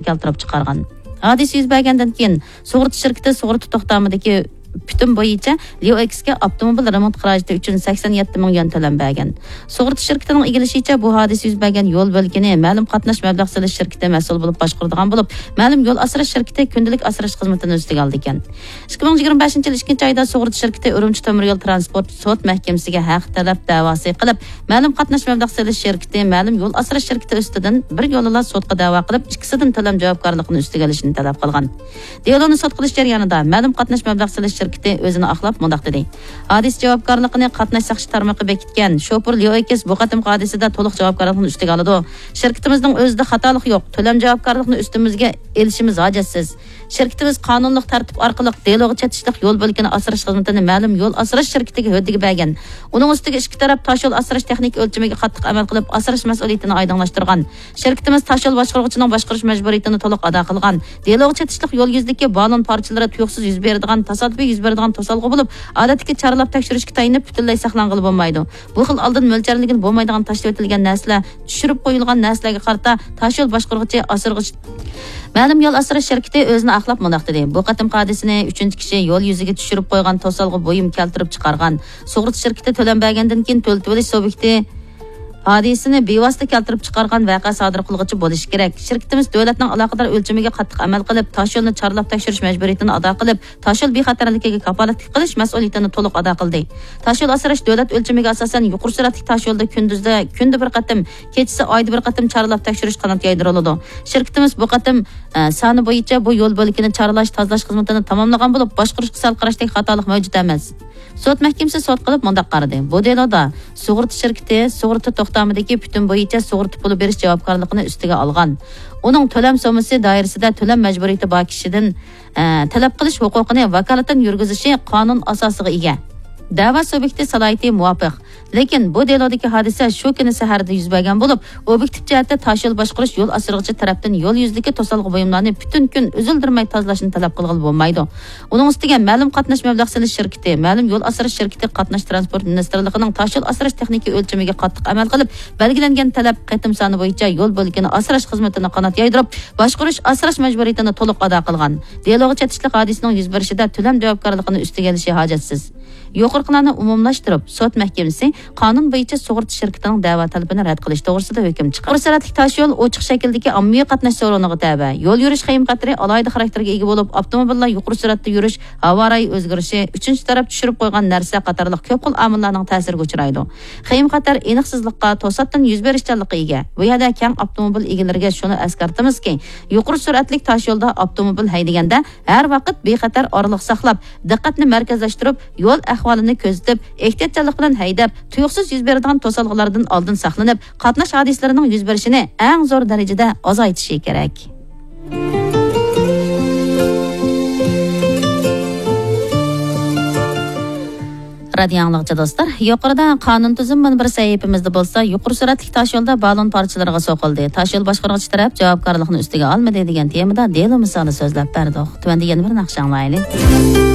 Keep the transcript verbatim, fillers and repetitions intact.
كەلتۈرۈپ چىقارغان. ھادىسە يۈز بەرگەندىن كېيىن، سۇغۇرتا شىركىتى سۇغۇرتا توختامىدىكى پۈتۈن بويىچە ليۇ ئېكسكە ئاپتوموبىل رېمونت خىراجىتى ئۈچۈن سەكسەن يەتتە مىڭ يۈەن تۆلەم بەرگەن. سۇغۇرتا شىركىتىنىڭ ئىگىلىشىچە، بۇ ھادىسە يۈز بەرگەن يول بۆلىكىنى مەلۇم قاتناش مەبلەغ سېلىش شىركىتى مەسئۇل بولۇپ باشقۇرىدىغان بولۇپ، مەلۇم يول ئاسراش شىركىتى كۈندىلىك ئاسراش خىزمىتىنى ئۈستىگە ئالىدىكەن. ئىككى مىڭ يىگىرمە بەشىنچى يىل ئىككىنچى ئايدا سۇغۇرتا شىركىتى ئۈرۈمچى تۆمۈر يول تىرانسپورت سوت مەھكىمىسىگە ھەق تەلەپ دەۋاسى قىلىپ، مەلۇم قاتناش مەبلەغ سېلىش شىركىتى مەلۇم يول ئاسراش شىركىتى ئۈستىدىن بىر يولىلا سوتقا دەۋا قىلىپ، ئىككىسىدىن تۆلەم جاۋابكارلىقىنى ئۈستىگە ئېلىشنى تەلەپ قىلغان. دېلونى سوت قىلىش جەريانىدا مەلۇم قاتناش مەبلەغ سېلىش شىركىتى ئۆزىنى ئاقلاپ مۇنداق دېدى: ھادىسە جاۋابكارلىقىنى قاتناش ساقچى تارمىقى بېكىتكەن، شوپۇر ليو ئېكس بۇ قېتىمقى ھادىسىدە تولۇق جاۋابكارلىقنى ئۈستىگە ئالىدۇ. شىركىتىمىزنىڭ ئۆزىدە خاتالىق يوق، تۆلەم جاۋابكارلىقىنى ئۈستىمىزگە ئېلىشىمىز ھاجەتسىز. شىركىتىمىز قانۇنلۇق تەرتىپ ئارقىلىق دېلوغا چېتىشلىق يول بۆلىكىنى ئاسراش خىزمىتىنى مەلۇم يول ئاسراش شىركىتىگە ھۆددىگە بەرگەن. ئۇنىڭ ئۈستىگە ئىككى تەرەپ تاشيول ئاسراش تېخنىكا ئۆلچىمىگە قاتتىق ئەمەل قىلىپ، ئاسراش مەسئۇلىيىتىنى ئايدىڭلاشتۇرغان. شىركىتىمىز تاشيول باشقۇرغۇچىنىڭ باشقۇرۇش مەجبۇرىيىتىنى تولۇق ئادا قىلغان. دېلوغا چېتىشلىق يول يۈزىدىكى بالون پارچىلىرى تۇيۇقسىز يۈز بېرىدىغان، تاسادىپىي يۈز بېرىدىغان توسالغۇ بولۇپ، ئادەتتىكى چارلاپ تەكشۈرۈشكە تايىنىپ پۈتۈنلەي ساقلانغىلى بولمايدۇ. بۇ خىل ئالدىن مۆلچەرلىگىلى بولمايدىغان تاشلىۋېتىلگەن نەرسىلەر، چۈشۈرۈپ قويۇلغان نەرسىلەرگە قارىتا تاشيول باشقۇرغۇچى، ئاسرىغۇچى، مەلۇم يول ئاسراش شىركىتى ئۆزىنى ئاقلاپ مۇنداق دېدى: بۇ قېتىمقى ھادىسىنى ئۈچىنچى كىشى يول يۈزىگە چۈشۈرۈپ قويغان توسالغۇ بۇيۇم كەلتۈرۈپ چىقارغان. سۇغۇرتا شىركىتى تۆلەم بەرگەندىن كېيىن تۆلىتىۋېلىش سۇبيېكتى ھادىسىنى بىۋاسىتە كەلتۈرۈپ چىقارغان ۋەقە سادىر قىلغۇچى بولۇشى كېرەك. شىركىتىمىز دۆلەتنىڭ ئالاقىدار ئۆلچىمىگە قاتتىق ئەمەل قىلىپ، تاشيولنى چارلاپ تەكشۈرۈش مەجبۇرىيىتىنى ئادا قىلىپ، تاشيول بىخەتەرلىكىگە كاپالەتلىك قىلىش مەسئۇلىيىتىنى تولۇق ئادا قىلدى. تاشيول ئاسراش دۆلەت ئۆلچىمىگە ئاساسەن يۇقىرى سۈرئەتلىك تاشيولدا كۈندۈزدە كۈندە بىر قېتىم، كېچىسى ئايدا بىر قېتىم چارلاپ تەكشۈرۈش قانات يايدۇرۇلىدۇ. شىركىتىمىز بۇ قېتىم، ئە، سانى بويىچە بۇ يول بۆلىكىنى چارلاش، تازىلاش خىزمىتىنى تاماملىغان بولۇپ، باشقۇرۇشقا سەل قاراشتەك خاتالىق مەۋجۇت ئەمەس. سوت مەھكىمىسى سوت قىلىپ مۇنداق قارىدى: بۇ دېلودا سۇغۇرتا شىركىتى سۇغۇرتا توختامىدىكى پۈتۈن بويىچە سۇغۇرتا پۇلى بېرىش جاۋابكارلىقىنى ئۈستىگە ئالغان. ئۇنىڭ تۆلەم سوممىسى دائىرىسىدە تۆلەم مەجبۇرىيىتى بار كىشىدىن، ئە، تەلەپ قىلىش ھوقۇقىنى ۋاكالىتەن يۈرگۈزۈشى قانۇن ئاساسىغا ئىگە. دەۋا سۇبيېكتى سالاھىيىتى مۇۋاپىق. لېكىن بۇ دېلودىكى ھادىسە شۇ كۈنى سەھەردە يۈز بەرگەن بولۇپ، ئوبيېكتىپ جەھەتتە تاشيول باشقۇرۇش يول ئاسرىغۇچى تەرەپتىن يول يۈزىدىكى توسالغۇ بۇيۇملارنى پۈتۈن كۈن ئۈزۈلدۈرمەي تازىلاشنى تەلەپ قىلغىلى بولمايدۇ. ئۇنىڭ ئۈستىگە مەلۇم قاتناش مەبلەغ سېلىش شىركىتى، مەلۇم يول ئاسراش شىركىتى قاتناش تىرانسپورت مىنىستىرلىقىنىڭ تاشيول ئاسراش تېخنىكا ئۆلچىمىگە قاتتىق ئەمەل قىلىپ، بەلگىلەنگەن تەلەپ قېتىم سانى بويىچە يول بۆلىكىنى ئاسراش خىزمىتىنى قانات يايدۇرۇپ، باشقۇرۇش ئاسراش مەجبۇرىيىتىنى تولۇق ئادا قىلغان. دېلوغا چېتىشلىق ھادىسىنىڭ يۈز بېرىشىدە تۆلەم جاۋابكارلىقىنى ئۈستىگە ئېلىشى ھاجەتسىز. يۇقىرىقىلارنى ئومۇملاشتۇرۇپ، سوت مەھكىمىسى قانۇن بويىچە سۇغۇرتا شىركىتىنىڭ دەۋا تەلىپىنى رەت قىلىش توغرىسىدا ھۆكۈم چىقاردى. يۇقىرى سۈرئەتلىك تاشيول ئوچۇق شەكىلدىكى ئاممىۋى قاتناش سورۇنىغا تەۋە. يول يۈرۈش خېيىم خەتىرى ئالاھىدە خاراكتېرگە ئىگە بولۇپ، ئاپتوموبىللار يۇقىرى سۈرئەتتە يۈرۈش، ھاۋا رايى ئۆزگىرىشى، ئۈچىنچى تەرەپ چۈشۈرۈپ قويغان نەرسە قاتارلىق كۆپ خىل ئامىللارنىڭ تەسىرىگە ئۇچرايدۇ. خېيىم خەتەر ئېنىقسىزلىققا، توساتتىن يۈز بېرىشچانلىققا ئىگە. بۇ يەردە كەڭ ئاپتوموبىل ئىگىلىرىگە شۇنى ئەسكەرتىمىزكى، يۇقىرى سۈرئەتلىك تاشيولدا ئاپتوموبىل ھەيدىگەندە، ھەر ۋاقىت بىخەتەر ئارىلىق ساقلاپ، دىققەتنى مەركەزلەشتۈرۈپ، يول ئەھۋالىنى كۆزىتىپ، ئېھتىياتچانلىق بىلەن ھەيدەپ، تۇيۇقسىز يۈز بېرىدىغان توسالغۇلاردىن ئالدىن ساقلىنىپ، قاتناش ھادىسىلىرىنىڭ يۈز بېرىشىنى ئەڭ زور دەرىجىدە ئازايتىشى كېرەك. رادىيو ئاڭلىغۇچى دوستلار، يۇقىرىدا قانۇن تۈزۈم مۇنبىرى سەھىپىمىزدە بولسا، يۇقىرى سۈرئەتلىك تاشيولدا بالون پارچىلىرىغا سوقۇلدى، تاشيول باشقۇرغۇچى تەرەپ جاۋابكارلىقنى ئۈستىگە ئالمىدى دېگەن تېمىدا دېلو مىسالى سۆزلەپ بەردۇق. تۆۋەندە يەنە بىر ناخشا ئاڭلايلى.